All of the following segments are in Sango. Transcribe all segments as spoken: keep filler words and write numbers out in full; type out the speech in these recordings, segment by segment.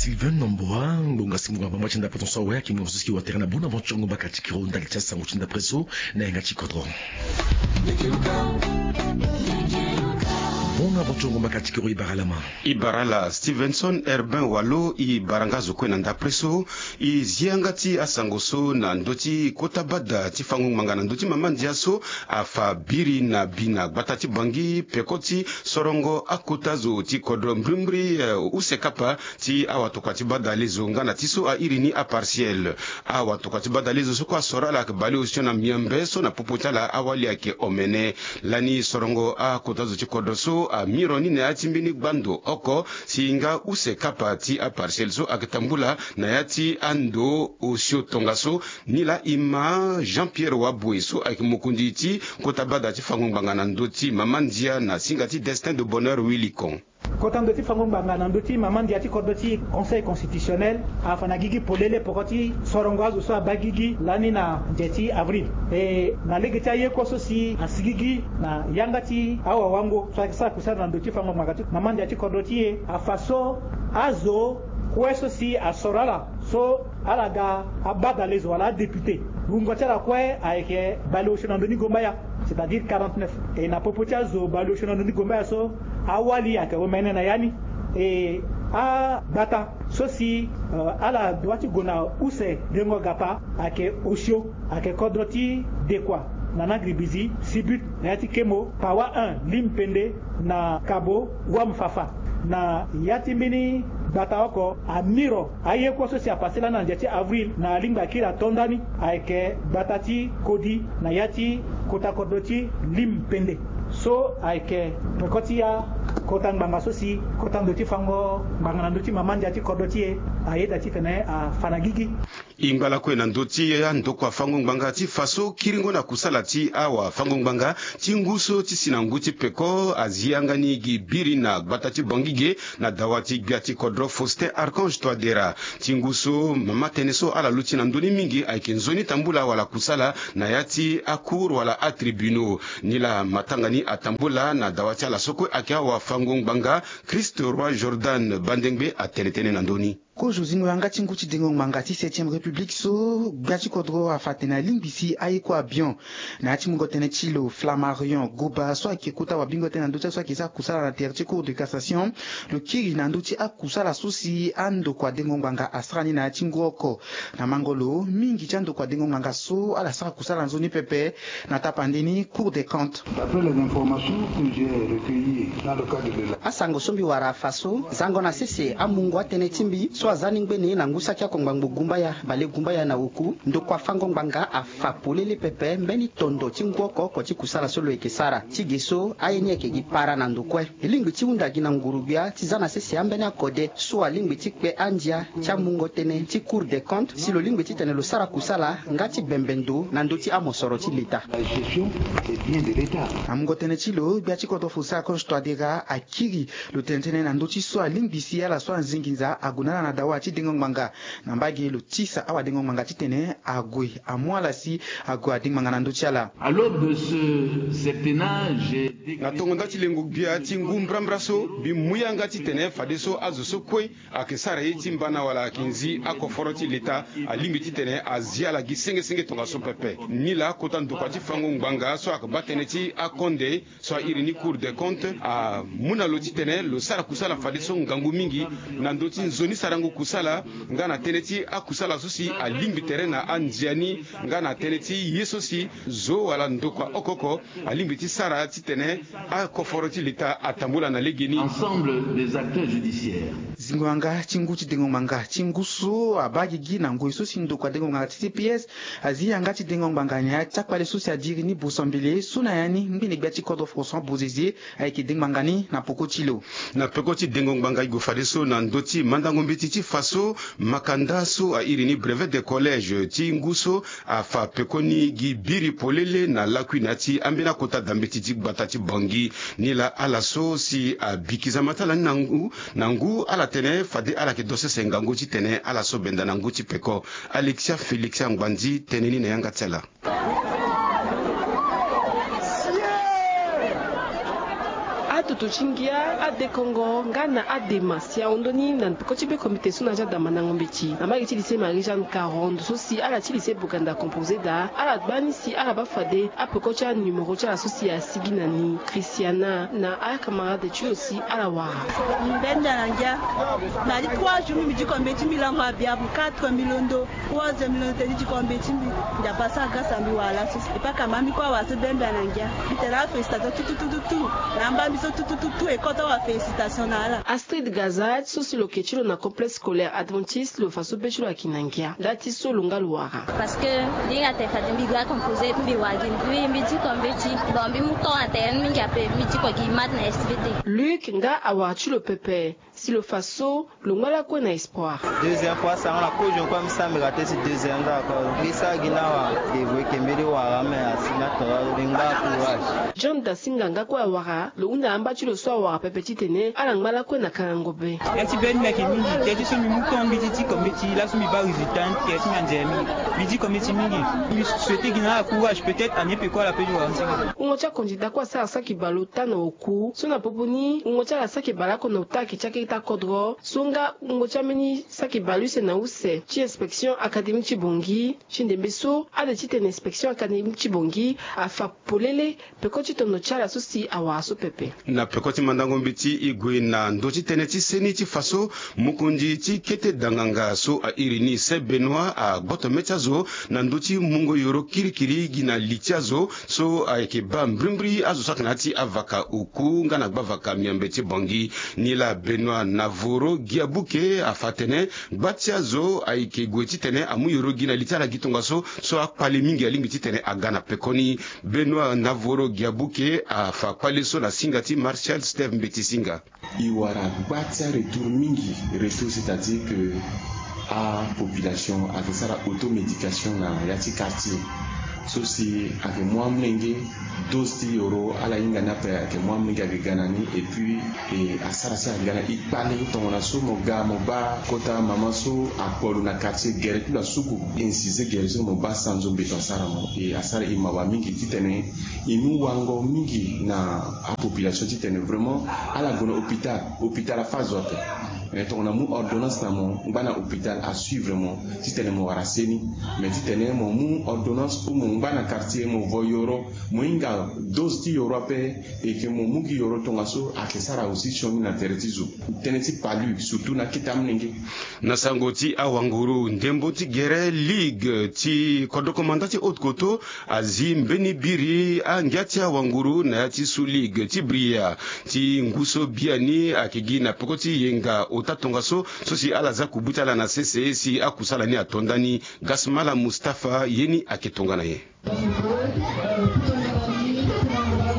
Sylvain Nomboa, ngonga si ngonga bamba ti ndapre so awe ayeke ngonga so si wa tere na bona vanti ngonga mbaka ti kiro ndali ti asango ti ndapre so na yanga ti kodro. Bona vanti ngonga mbaka ti kiro e bara lama. E bara ala Stevenson Herbin Walo, e bara nga azo kue na ndapre so. E zi yanga ti asango so na ndö ti kota bada ti fango ngbanga na ndö ti mama ndia so afa biri na bi na gbata ti Bangui peko ti sorongo akota zo ti kodro mbrimbri, eh, use kapa ti awatokua ti bada lezo nga na ti so a iri ni apartiel. Awatokua ti bada lezo so kue asoro ala ayeke baleosio na miambe so na popo ti ala awali ayeke omene. Lani sorongo akota zo ti kodro so amiro ni na ya ti mbeni gbando oko si nga use kapa ti apartiel so ayeke tambula na ya ti ando osio tongaso. Nilaa e ma Jean Pierre Waboué so ayeke mokonzi ti kota bada ti fango ngbanga na ndö ti mama ndia na singa ti Destin de Bonheur Wilikon. Kota ndo ti fango ngbanga na ndö ti mama ndia ti kodro ti Conseil constitutionnel afa na gigi polele peko ti sorongo azo so abaa gigi lani na nze ti avril. E na lege ti aye kue so si asigigi na yanga ti awawango so ayeke sara kusala na ndö ti fango ngbanga ti mama ndia ti kodro ti e afa so azo kue so si asoro ala so ala ga abadalezo wala adéputé, wungo ti ala kue ayeke baleosio na ndö ni gombaya, c'est-à-dire quarante-neuf. E na popo ti azo baleosio na ndö ni gombaya so awali ayeke omene na ya ni. E agbata so si, euh, ala dua ti gue na use dengo gapa ayeke osio, ayeke kodro ti Dekua, Nana Gribizi, Sibut, na ya ti Kemo, Pawa un, Limpende, na Kabo, Wamfafa. Na ya ti mbeni gbata oko amiro aye kue so si apase lani na ndia ti avril na alingbi akiri ato ndani ayeke gbata ti Kodi na ya ti kota kodro ti Limpende. So ayeke peko ti akota ngbanga so si kota ndo ti fango ngbanga na ndö ti mama ndia ti kodro ti e ayeda titene afa na gigi. E ngba lakue na ndö ti andokua fango ngbanga ti fa so kiringo na kusala ti awafango ngbanga ti ngu so ti si na ngu ti peko azi yanga ni gi biri na gbata ti Bangui ge na dawa ti gbia ti kodro Faustin Archange Touadéra. Ti ngu so mama tënë so ala luti na ndö ni mingi ayeke nzoni tambula wala kusala na ya ti acour wala atribunaux. Nilaa matanga ni atambula na dawa ti ala so kue ayeke awafango ngbanga Christ Roi Jordan Bandengbe atene tënë na ndö ni. Kozo zingo yanga ti ngu ti dengo ngbanga ti septième république so gbia ti kodro afa atene alingbi si aye kue abion na ya ti mungo tënë ti lo Flammarion Goba so ayeke kota wabingo tënë na ndö ti aye so ayeke sara kusala na tere ti cour de cassation. Lo kiri na ndö ti akusala so si andokua dengo ngbanga asara ni na ya ti ngu oko. Na mango lo mingi ti andokua dengo ngbanga so ala sara kusala na nzoni pepe na tapande ni Cour des comptes. D'après les informations que j'ai recueillies dans le cadre de la asango so mbi wara afa so zango na sese amungo atënë ti mbi so aza ni ngbene na ngu saki oko ngbangbo gumbaya bale gumbaya na oku ndokua fango ngbanga afa polele pepe mbeni tondo ti ngu oko oko ti kusala so lo yeke sara. Ti ge so aye ni ayeke gi para na ndo kue. E lingbi ti hunda gi na nguru-gbia ti za na sese ambeni akode so alingbi ti kpe andia ti amungo tënë ti Cour des comptes si lo lingbi titene lo sara kusala nga ti bembe ndo na ndö ti amosoro ti leta. La gestion des biens de l'État. Na mungo tënë ti lo gbia ti kodro Faustin Archange Touadéra akiri lo tene tënë na ndö ti so alingbi si ala so anzingi nza ague na ala na dawa ti dengo ngbanga. Na mbage lo tisa awadengo ngbanga titene ague amu ala si ague adengo ngbanga na ndö ti ala. À l'aube de ce septennat, j'ai décrété. Na tongo nda ti lengo gbia ti ngu mbrambra so mbi mu yanga titene fadeso azo so kue ayeke sara ye ti mbana wala ayeke nzi akoforo ti leta alingbi titene azi ala gi sengesenge tongaso pepe. Nilaa kota ndokua ti fango ngbanga so ayeke baa tënë ti akonde so a iri ni Cour des comptes amu na lo titene lo sara kusala fadeso ngangu mingi na ndö ti nzoni sarango kusala nga na tënë ti akusala so si alingbi tere na andia ni nga na tënë ti ye so si zo wala ndokua oko oko alingbi ti sara titene akoforo ti leta atambula na legeni. Ensemble des acteurs judiciaires. Zingo yanga ti ngu ti dengo ngbanga ti ngu so abaa gigi na ngoi so si ndokua dengo ngbanga ti C P S azi yanga ti dengo ngbanga na ya ti akpale so si adiri ni Boso Mbele so na ya ni ngbene gbia ti kodro François Bozizé ayeke dengo ngbanga ni na peko ti lo. Na peko ti dengo ngbanga e gue fadeso na ndö ti mandango mbeti ti fa so makanda so a iri ni brevet de collège ti ngu so afa pekoni gi biri polele na lakui na ya ti ambeni akota dambeti ti gbata ti Bangui. Nilaa ala so si abiki zama ti ala ni na ngu na ngu ala tene fade ala yeke do sese ngangu titene ala so benda na ngu ti peko. Alexia Félixia Ngbandi tene ni na yanga ti ala. Ndo ti ngia, adekongo nga na adema si ahon ndoni na peko ti be komite so na ya ti adamandango mbeti na mbage ti lycée Marie Jeanne Caron, ndo so si ala ti lycée Boganda composé daa, ala gbani si ala baa fade apeko ti anumero ti ala so si asigi na ni. Christiana na acamarade ti lo si ala wara. Mbi baa ndia na ngia. Na ya ti trois jours mbi diko mbeti, mbi lango abiabu quatre mille londo. Trois heures mbi londo tene ti diko mbeti, mbi ndia pasa agasa mbi wara laso. Epaka ma mbi kue awara so baa ndia na ngia. Mbi tene afélicitation tout tout tout tout tout. Na amba mbi so tout tout tout tout ekota wa félicitation na ala. Astrid Gaza ti so si lo ke ti lo na complexe scolaire adventiste, lo fa so be ti lo ayeke na ngia nda ti so lo nga lo wara. Parce que mbi hinga tene fade mbi ga composé mbi wara gi mbi, mbi diko mbeti. Bon, mbi mu temps atene mingi ape, mbi diko gi maths na S V T. Luc nga awara ti lo pepe. Si lo fa so lo ngba lakue na espoir. Deuxième fois asango na kozo kue, mbi sara mbi raté si deuxième nga kue. Mbi sara gi na wa devoe ke mbeni wara me asi na tora lo mbi ngba courage. John Dasinga nga kue awara, lo hunda amba ti lo so awara pepe titene ala ngba lakue na kangango be. Ya ti be ni mbi yeke mingi, ya ti so mbi mu temps mbi ti diko mbeti laso mbi baa résultat, ya ti mbi anze mingi. Mbi diko mbeti mingi. Mbi souhaité gi na ala courage, peut-être anie peko ala pe ti wara nzenge. Wungo ti akonzi daa kue asara saki bale ota na oku so na popo ni wungo ti ala saki bale oko na ota ayeke ti akete akodro so nga wungo ti ambeni saki bale use na use ti inspection académique ti Bangui. Ti ndembe so ade titene inspection académique ti Bangui afa polele peko ti tondo ti ala so si awara so pepe. Na peko ti mandango mbeti e gue na ndö ti tënë ti seni ti fa so mokonzi ti kete danganga so a iri ni Saint Benoît agboto mê ti azo na ndö ti mungo yoro kirikiri gi na li ti azo so ayeke baa mbrimbri azo so ayeke na ya ti avaka oku nga na gbavaka miambe ti Bangui. Nilaa Benoît Navoro Giabuke afa atene gba ti azo ayeke gue titene amu yoro gi na li ti ala gi tongaso so akpale mingi alingbi titene aga na pekoni. Benoît Navoro Giabuke afa kpale so na singa ti Martial Steve Mbeti Singa. E wara gba ti aretour mingi, retour c'est-à-dire que apopulation ayeke sara automédication na ya ti quartier so si ayeke mu amolenge dose ti yoro ala hinga ni ape ayeke mu amolenge ayeke ga na ni. Et puis e asara si ayeke ga na e kpale tongana so mo ga mo baa kota mama so akpo lo na quartier gere ti lo asuku, e incisé gere so mo baa sanzo mbeto asara mo. E asara e mawa mingi titene e mu wango mingi na apopulation titene vraiment ala gue na hôpital, hôpital afa zo ape. Eh, tongana mu ordonnance na mo ngba na hôpital asuivre mo titene mo wara seni. Mais titene mo mu ordonnance ou mo ngba na quartier mo vo yoro, mo hinga dose ti yoro ape, e ke mo mu gi yoro tongaso ayeke sara aussi sioni na tere ti zo. Tënë ti palu surtout na akete amolenge. Na sango ti awanguru ndembo ti gere ligue ti kodro komanda ti Haute-Kotto azi mbeni biri angia ti awanguru na ya ti sous-ligue ti Bria ti ngu so biani ayeke gi na peko ti yenga ota tongaso so si ala za kubu ti ala na sese si akusala ni ato ndani. Gasmala Mustapha ye ni ayeke tongana nyen?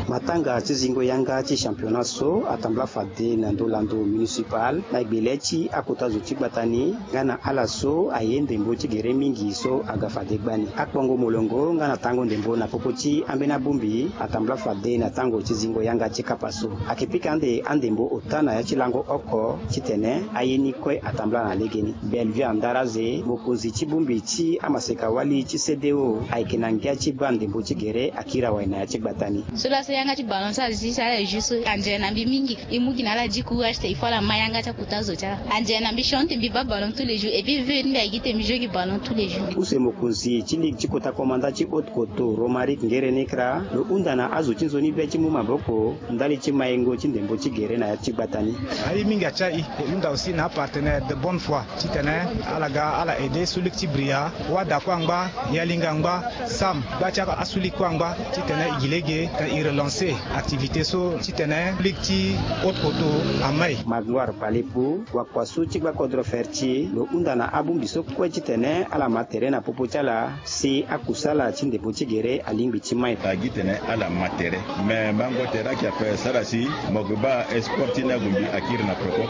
Matanga ti zingo yanga ti championnat so atambula fade na ndö lando municipal na gbele ti akota zo ti gbata ni nga na ala so aye ndembo ti gere mingi so aga fade gbani. Akpongo molongo nga na tango ndembo na popo ti ambeni abongbi atambula fade na tango ti zingo yanga ti kapa so. Ayeke pika ande andembo ota na ya ti lango oko titene aye ni kue atambula na legeni. Bellevue Andaraze, mokonzi ti bongbi ti amaseka wali ti C D O, ayeke na ngia ti baa ndembo ti gere akiri awe na ya ti gbata ni. So laso yanga ti ballon so azi so ala juste anzere na mbi mingi. E mu gi na ala di courage te il faut ala ma yanga ti akota zo ti ala. Anzere na mbi sioni te mbi baa ballon tous les jours et puis veuve ti mbi ayeke gi te mbi joue gi ballon tous les jours. Use mokonzi ti ligue ti kota komanda ti Haute-Kotto, Romaric Ngerenekra, lo hunda na azo ti nzoni be ti mu maboko ndali ti mayengo ti ndembo ti gere na ya ti gbata ni. Aye mingi atia e, e hunda aussi na apartenaire de bonne foi titene ala ga ala aide so ligue ti Bria, Wada kue angba, Yalinga angba, Sam gba ti aso ligue kue angba titene e gi lege titene e relancer activité so titene ligue ti Haute-Kotto amai. Magloire Palepo, wakua so ti gba kodro Ferti, lo hunda na abongbi so kue titene ala ma tere na popo ti ala si akusala ti ndembo ti gere alingbi ti mai. Agi tene ala ma tere. Me mango tere ayeke ape sara si mo yeke baa esport ti ni abongbi akiri na peko.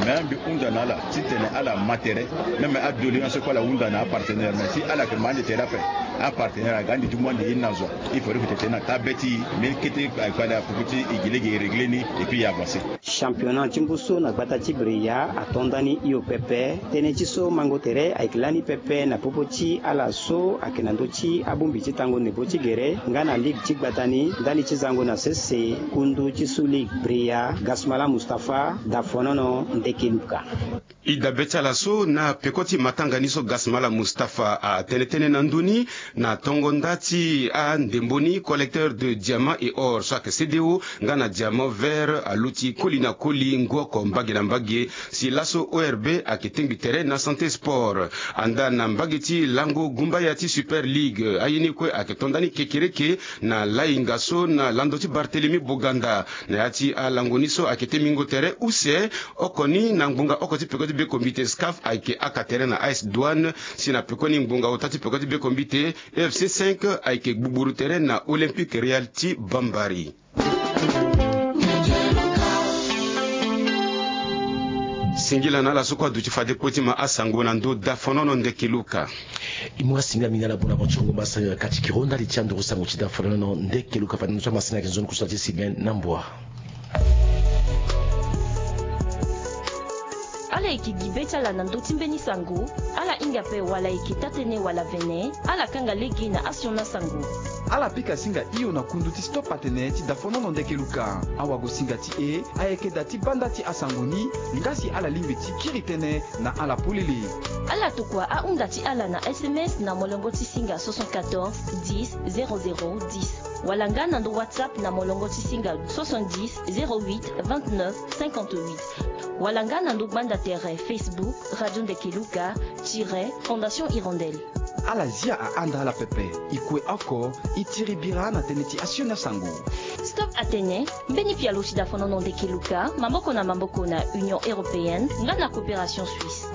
Me mbi hunda na ala titene ala ma tere. Même adoléance so kue ala hunda na apartenaire, me si ala yeke ma ande tere ape, apartenaire aga ande ti mu ande ye ni na zo. Il faudrait que tene na taa be ti e, me kete akpale apupu ti e gi lege e régler ni et puis e avancer. Championnat ti ngu so na gbata ti Brea ato ndani hio pepe. Tënë ti so mango tere ayeke lani pepe na popo ti ala so ayeke na ndö ti abongbi ti tango ndembo ti gere nga na ligue ti gbata ni ndali ti zango na sese. Kundu ti Sous Ligue Brea, Gasmala Mustapha, Dafonono, Ndeke Luka. E dabe ti ala so na peko ti matanga ni so Gasmala Mustapha atene tënë na ndö ni na tongo nda ti andembo ni collecteur de diamant et or so ayeke C D O nga na diamant vert aluti koli na koli ngu oko mbage na mbage. Si laso O R B ayeke tengbi tere na Santé Sport. Andaa na mbage ti lango gumbaya ti Super League, aye ni kue ayeke to ndani kekereke na lainga so na lando ti Barthélemy Boganda. Na ya ti alango ni so ayeke ti mingo tere use oko ni na ngbonga oko ti peko ti be kombite SCAF ayeke aka tere na A S Douane. Si na pekoni ngbonga ota ti peko ti be kombite F C cinq ayeke gbugburu tere na Olympique Real ti Bambari. Singila na ala so kue aduti fade kue ti ma asango na ndö Dafonono Ndeke Luka. E mu asingila mingi na ala bona mo ti kongo ma sangela kati kiro ndali ti anduru sango ti Dafonono Ndeke Luka fade ndö ti amasingila yeke nzoni kusala ti Sylvain Nambua. Ala yeke gi be ti ala na ndö ti mbeni sango. Ala hinga ape wala eke taa-tënë wala vene. Ala kanga lege na asioni asango. Ala pika singa hio na kundu ti Stop Atene ti Dafonono Ndeke Luka. Awagosinga ti e ayeke da ti banda ti asango ni. Nga si ala lingbi ti kiri tënë na ala polele. Ala tokua ahunda ti ala na S M S na molongo ti singa soixante-quatorze dix zéro zéro dix, wala nga na ndo WhatsApp na molongo ti singa soixante-dix zéro huit vingt-neuf cinquante-huit, wala nga na ndo gbanda tere Facebook Radio Ndeke Luka tiret Fondation Hirondelle. Ala zia ahanda ala pepe. E kue oko, e tiri bira na tënë ti asioni asango. Stop Atene, mbeni pialo ti Dafonono Ndeke Luka, maboko na maboko na Union Européenne nga na Coopération Suisse.